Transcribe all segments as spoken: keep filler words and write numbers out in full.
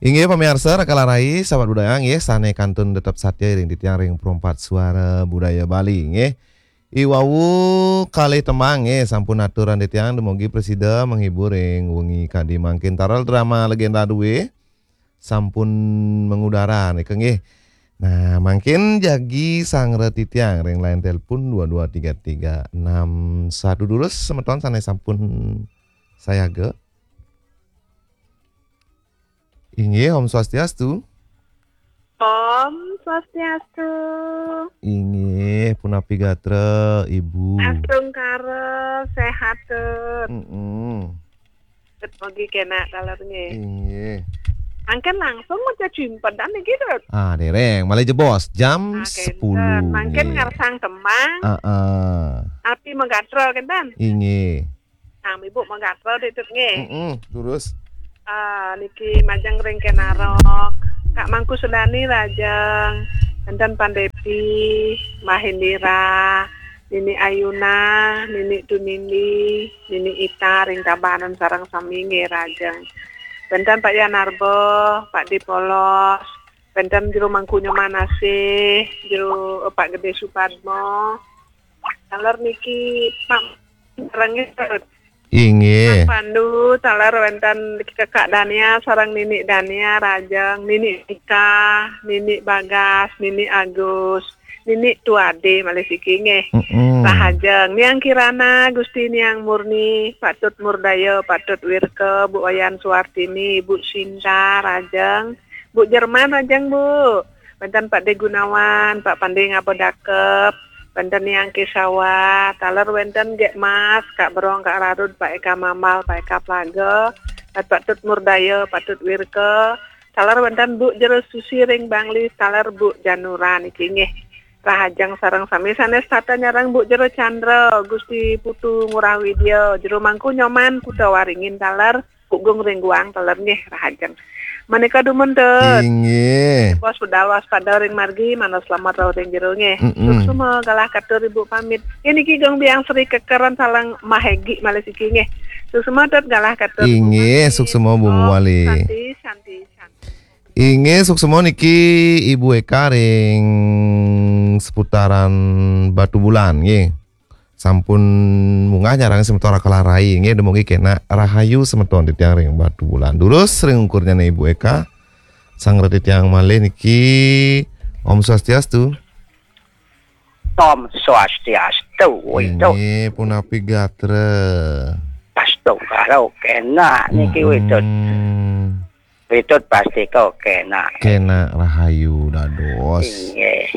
Inggih pamiarsa, Raka Larai, sahabat budaya, nggih, sane kantun tetep satia ring titiang ring Perempat Suara Budaya Bali, nggih. I wau kalih tembang, nggih, sampun aturan titiang, dumugi prasida menghibur ring wengi kadi mangkin. Taler drama Legenda Due sampun mengudara nika, nggih. Nah, mangkin jagi sanggra titiang ring line telepon dua dua tiga tiga enam satu. Durus semeton sane sampun sayaga. Inggih, Om Swastiastu. Om Swastiastu. Inggih, punapi gatra, Ibu? Astungkara, sehat, Tut. Mm-mm. Tut, mugi kenak taler nggih. Inggih. Angken langsung maca cimpedan niki, Tut. Ah, dereng, malih jebos jam Ah, kenten. Sepuluh, Mangkin nggih. Ngarsang tembang. Ah, ah. Api magatra kenten. Inggih. Nah, Ibu magatra, Tut, nggih. Mm-mm, terus? Ah, niki majeng ring Kenarok. Kak Mangku Sudani rajeng, wenten Pandepi, Mbah Indira, Nini Ayuna, Nini Tunindi, Nini Ita ring Tabanan sareng sami nggih rajeng. Wenten Pak Yanarba, Pak Dipolos, wenten Jero Mangku Nyoman Asih, Jero, eh, Pak Gede Supadmo. Taler niki Pak sareng nggih. Inggih. Pak Pandu, taler wenten Kakak Dania sareng Nini Dania rajeng, Nini Nika, Nini Bagas, Nini Agus, Nini Tuade malih siki nggih. Mm-mm. Rahajeng, Niang Kirana, Gusti Niang Murni, Patut Murdaya, Patut Wirka, Bu Wayan Suartini, Bu Sinta, rajeng, Bu Jerman, rajeng, Bu. Wenten Pak De Gunawan, Pak Pande Ngaba Dakep, wenten Niang Kesawa, taler wenten Gek Mas, Kak Berong, Kak Rarud, Pak Eka Mambal, Pak Eka Plaga, Patut Murdaya, Patut Wirka, taler wenten Bu Jero Susi ring Bangli, taler Bu Janura niki nggih. Rahajeng sareng sami sane setata nyareng Bu Jero Chandra, Gusti Putu Ngurah Widya, Jero Mangku Nyoman, Kuta Waringin taler, Pugung ring Guang taler nggih, rahajeng. Menika dumun, Tut. Inggih. Bos budal waspada ring margi, manut selamat rauh ring jero nggih. Mm-mm. Suksma galah katur Ibu pamit. Niki Gung Biang Sri Kekeran sareng Mahegi malih siki nggih. Suksma, Tut, galah katur Ibu Inggih, pamit. Suksma Bu Om Muwali. Santi, santi, santi. Inggih, suksma niki Ibu Eka ring seputaran Batubulan nggih. Sampun munggah nyarengin semeton Raka Larai nggih, dumugi kenak rahayu semeton titiang ring Batubulan. Durus ring ungkurnyane Ibu Eka, sanggra titiang malih niki, Om Swastiastu. Om Swastiastu, Witut. Inggih, punapi gatra? Astungkara, kenak niki, Witut. Mm-mm. Witut pasti kok kenak. Kenak rahayu dados. Inggih.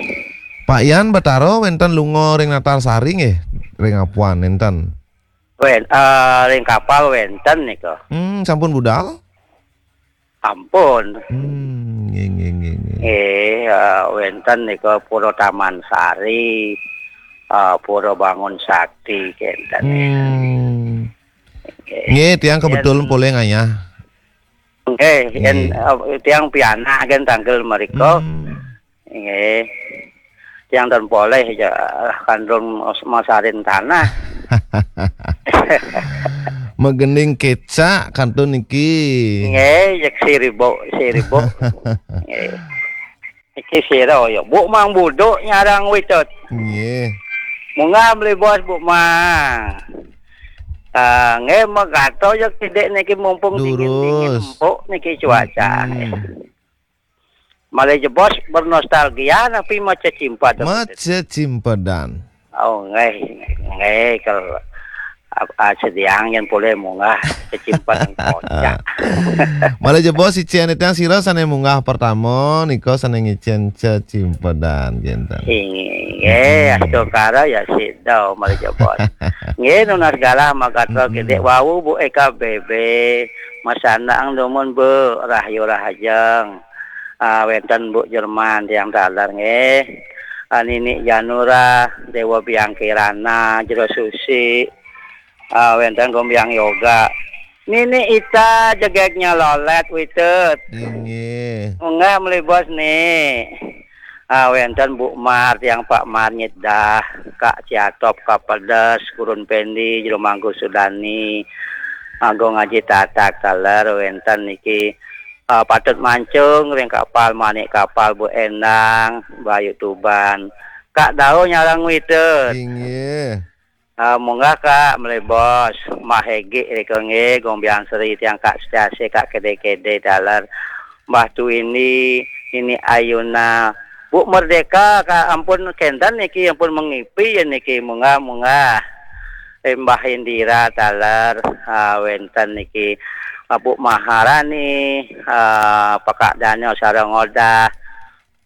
Pak Yan Batara wenten lunga ring Natal Sari nggih, ring Apuan nenten? Wen-, eh, ring kapal wenten nika. Hmm, sampun budal? Ampun. Hmm, nggih, nggih, nggih, nggih. Nggih, eh, wenten nika Pura Taman Sari, eh, Pura Bangun Sakti kenten. Hmm. Nggih. Nggih, tiang kebetulan polih ngayah. Nggih, yen, nggih. Eh, tiang pianak kan tanggal mereka. Hmm. Nggih. Tiang ten polih ya, kan durung mas-, masarin tanah. Megending kecak kantun niki. Nggih, yek siribuk, siribuk. Nggih. Iki sira ya, Bu Mang Buduk nyarang Witut. Nggih. Munggah mlebos, Bu Mang. Ah, nggih, megato ya kidik niki mumpung dingin-dingin empuk niki cuaca. Mm-mm. Malih jebos bernostalgia napi maca cimpedan. Maca cimpedan. Oh, nggih, nggih, kal-, ap-, ah, sediang yen polih munggah cecimpedan kocak. Malih jebos icen titiang sira sane munggah pertama nika sane ngicen cecimpedan kenten. Inggih, astungkara ya sida malih jebos. Nggih, nunas galah magatra kidik wau Bu Eka B B, masandekan dumun Bu, rahayu rahajeng. Ah, wenten Bu Jerman tiang taler nggih. Ah, Nini Janura, Dewa Biang Kirana, Jero Susi, ah, wenten Gombiang Yoga. Nini Ita jegegnya lolet Witut. Inggih. Munggah mlebos ni. Ah, wenten Bu Mar, tiang Pak Mar nyedah, Kak Ciatop, Kak Pedes, Gurun Pendi, Jero Mangku Sudani, Agung Aji Tatak taler wenten niki. Ah, Patut Mancung ring kapal, Manik Kapal, Bu Endang, Bayu Tuban. Kak Dau nyarang witut. Inggih. Ah, munggah Kak Mlebos, Mbah Egi rika nggih, Gong Biang Sri tiang Kak Setiasi, Kak Kede-kede taler, Mbah Tuindi, Nini Ayuna, Bu Merdeka, Kak, ampun kenten niki, ampun mengipi ya niki, munggah, munggah. Eh, Mbah Indira taler, ah, wenten niki, ah, Bu Maharani, ah, Pakak Daniel sareng Odah,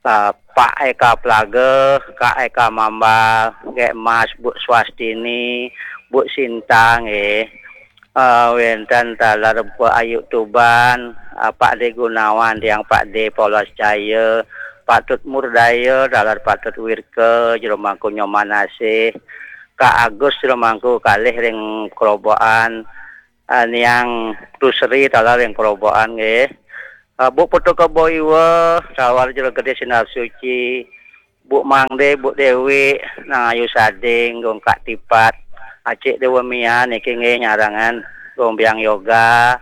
ah, Pak Eka Plaga, Kak Eka Mambal, Gek Mas, Bu Swastini, Bu Sintang, eh, ah, wenten taler Bu Ayu Tuban, ah, Pak De Gunawan, tiang Pak De Polos Jaya, Pak Tut Murdaya, taler Pak Tut Wirka, Jero Mangku Nyoman Asih, Kak Agus Jero Mangku kalih ring Kerobokan, ah, Niang Tusri taler ring Kerobokan nggih. Ah, Bu Putu Kebo Iwa, taler Jero Gede Sinar Suci, Bu Mangde, Bu Dewi, Nang Ayu Sading, Gong Kak Tipat, Acik Dewa Mia niki nggih nyarangan, Gong Biang Yoga,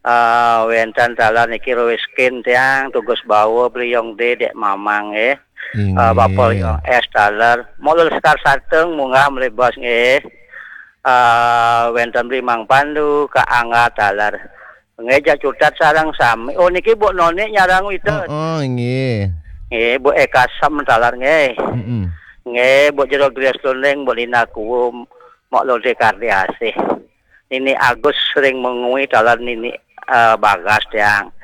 ah, wenten taler niki Rowiskin tiang, Tugus Bawa, Bliong De, Dek Mamang nggih. Ah, Bapa Inggih. Liong S taler, Mok Lul Sekar Sateng, munggah Mlebos nggih. Ah, wenten Bli Mang Pandu, Kak Angga taler. Nggih, jak cutet sareng sami. Oh, niki Bu Noni nyarang witut. Heeh, inggih. Nggih, Bu Eka Sam taler nggih. Mm-mm. Nggih, Bu Jero Gres Lundeng, Bu Lina Kuum, Mok Lode Kardi Asih. Nini Agus ring Mengwi taler Nini, eh, Bagas tiang.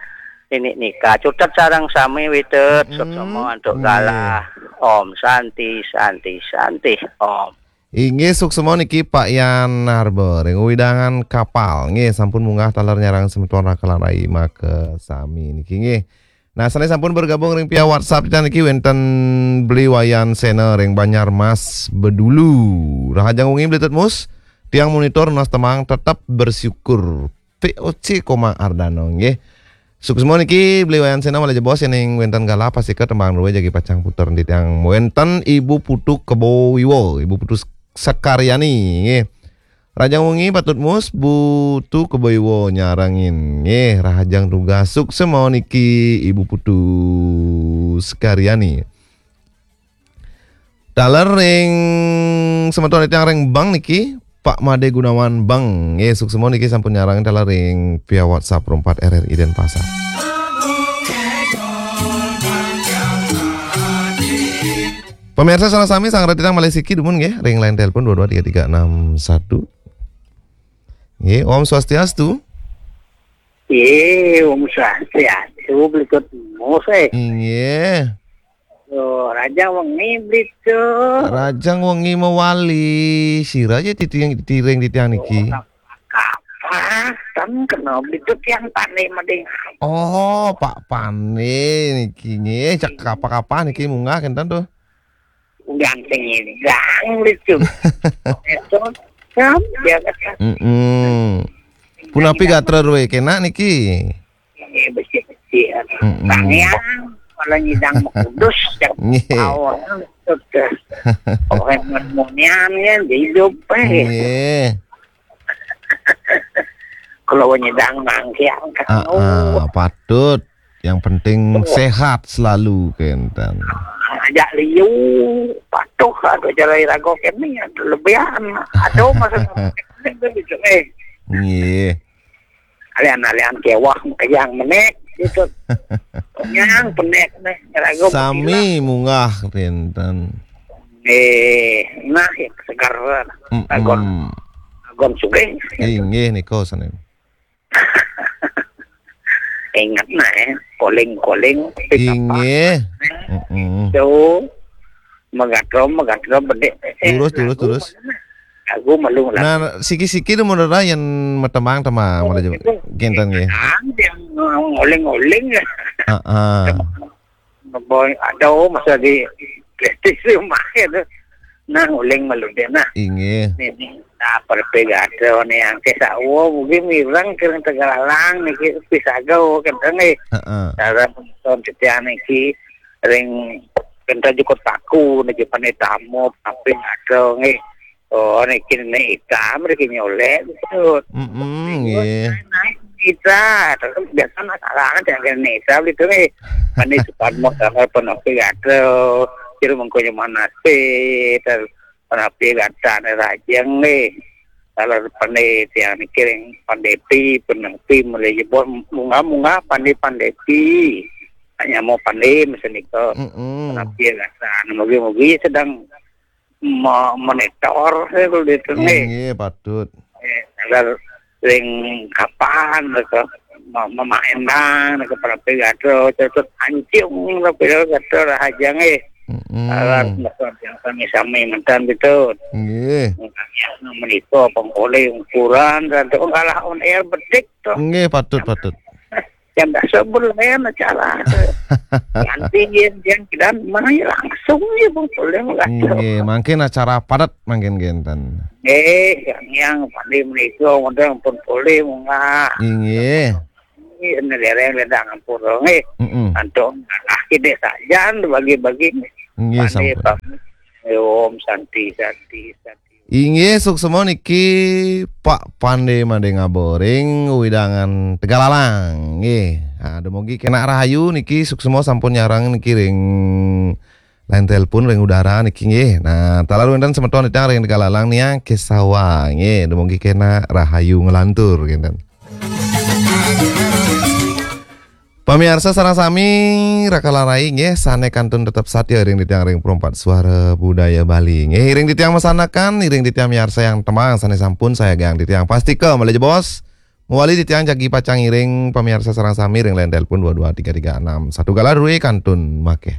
Nini Nika cutet sareng sami witut, mm-mm, suksma antuk, nggih, galah. Om Santi, Santi, Santi, Om. Inggih, suksma niki Pak Yan Narba ring wewidangan Kapal. Nggih, sampun munggah taler nyarang semeton rakalan rai makasami niki nggih. Nah, sané sampun bergabung ring via WhatsApp kita niki wénten Beli Wayan Sena ring Banjarmas Bedulu. Rahajeng wengi Beli Tutmus, tiang monitor nunas tembang Tetep Bersyukur. P O C Komang Ardana nggih. Suksma niki Beli Wayan Sena malih jebos yén wénten galah pastika tembang drué jagi pacang puter enti tiang wénten Ibu Putu Kebo Wiwa, Ibu Putu Sekaryani nggih. Rahajeng wengi Pak Tutmus, Bu Putu Kebo Wiwa nyarengin nggih, rahajeng tugas, suksma niki Ibu Putu Sekaryani. Taler ring semeton titiang ring bank niki, Pak Made Gunawan Bank. Nggih, suksma niki sampun nyarengin taler ring via WhatsApp Pro empat R R I Denpasar. Pemirsa, sareng sami sanget titiang malih siki dumun nggih, ring line telepon dua dua tiga tiga enam satu. Nggih, Om Swastiastu. Nggih, Om Swastiastu, Beli Tutmus, eh. Inggih. Yo, rahajeng wengi, Beli Tut. Rahajeng wengi mawali. Sira ja titiang, tiring titiang niki. Oh, kapah, ten kena Beli Tut tiang Pane Mading. Oh, Pak Pane niki nggih. Cak kapah-kapah niki munggah kénten tuh. Udah nyidang, Beli Tut. Itu, kan, dia kata. Mm-mm. Punapi gatra drué kénak niki? Ini besi-besi. Mm-mm. Tangéang, kalau nyidang mekudus, cak. Nggih. Awal, betul. Orang munian ya, hidup, eh. Nggih. Kalau nyidang mangkiang kan. Ah, ah, patut. Yang penting sehat selalu, kénten. Ajak liu, patuh, ada cara iraga kami, ada lebihan. Ada masa itu, eh. Nggih. Alian-alian kewah, kejang menek, gitu. Yang penek, nih, iraga. Sami munggah, kénten. Eh, nah, ya, segar. Mm-mm. Agon, agon sugih. Inggih, nika sané. Ingat nah, eh, koling-koling, inggih. Mm-mm. Tuh, megatrom, megatrom, bedek. Eh, terus, terus, lagu terus. Mana? Lagu malu, lagu. Nah, siki-siki tu menurut yén matembang-tembang, oh, malah itu. Kénten nggih. Ah, yang ngoling-ngoling ya. Heeh. Boy, ada masa di prestis rumah ya tu. Nah, uling malu dia nah. Inggih. Ini, nah, perpegata ni yang ke sawo, mungkin mirang kering Tegalalang ni, ke pisaga, kentang eh. Heeh. Cara nonton setian ni ki, ring kentang jukut paku, ni ki panitamu, tapi ada ni. Oh, ni kini ni hitam, ni kini oleh, betul. Mm-mm, nggih. Naik, naik. Kita, terus biasa masalah kan jangan nesa gitu nih. Mandi sukan mau sama penapi gado, kira mengkonya mana sih, terus penapi gata nih rajang nih. Kalau pandai tiang mikirin pandai pi, penapi mulai jebol munga-munga pandai pandai pi. Hanya mau pandai mesin itu. Mm-mm. Penapi gata, mugi-mugi sedang mo- monitor saya kalau di sini. Inggih, patut. Eh, agar ring kapan mereka memain bang ke para pegato, terus ancung lah pegato lah aja nih. Mm-mm. Agar mereka yang sami-sami mentan gitu. Inggih. Makanya menikah pengkole ukuran dan tuh kalah on air betik tuh. Inggih, patut, patut. Yang biasa berlain acara. Nanti yang yang kita mana langsung ya pengkole lah. Inggih, mangkin acara padat mangkin kinten. Eh, yang yang pandai menikah, modal pun boleh munggah. Inggih. Ini dereng ledang ampun eh. Mm-mm. Antum ah kita saja bagi-bagi. Inggih, Pandai sampun. Pak. Om Santi, Santi, Santi. Inggih, suksma niki Pak Pande Made Ngaboring, wewidangan Tegalalang. Nggih. Nah, dumugi kena rahayu niki, suksma sampun nyarang niki ring line telepon, ring udara niki nggih. Nah, taler wenten semeton titiang ring Tegalalang nia Kesawa nggih. Dumugi kena rahayu nglantur kinten. Pamiarsa sareng sami, raka rai nggih, sane kantun tetep satia ring titiang ring Perempat Suara Budaya Bali. Nggih, ring titiang masanakan, ring titiang miarsa yang temang, sane sampun sayagang titiang pastika malih jebos. Mawali titiang jagi pacang ngiring pamiarsa sareng sami ring line telepon dua dua tiga tiga enam satu galah due kantun makeh.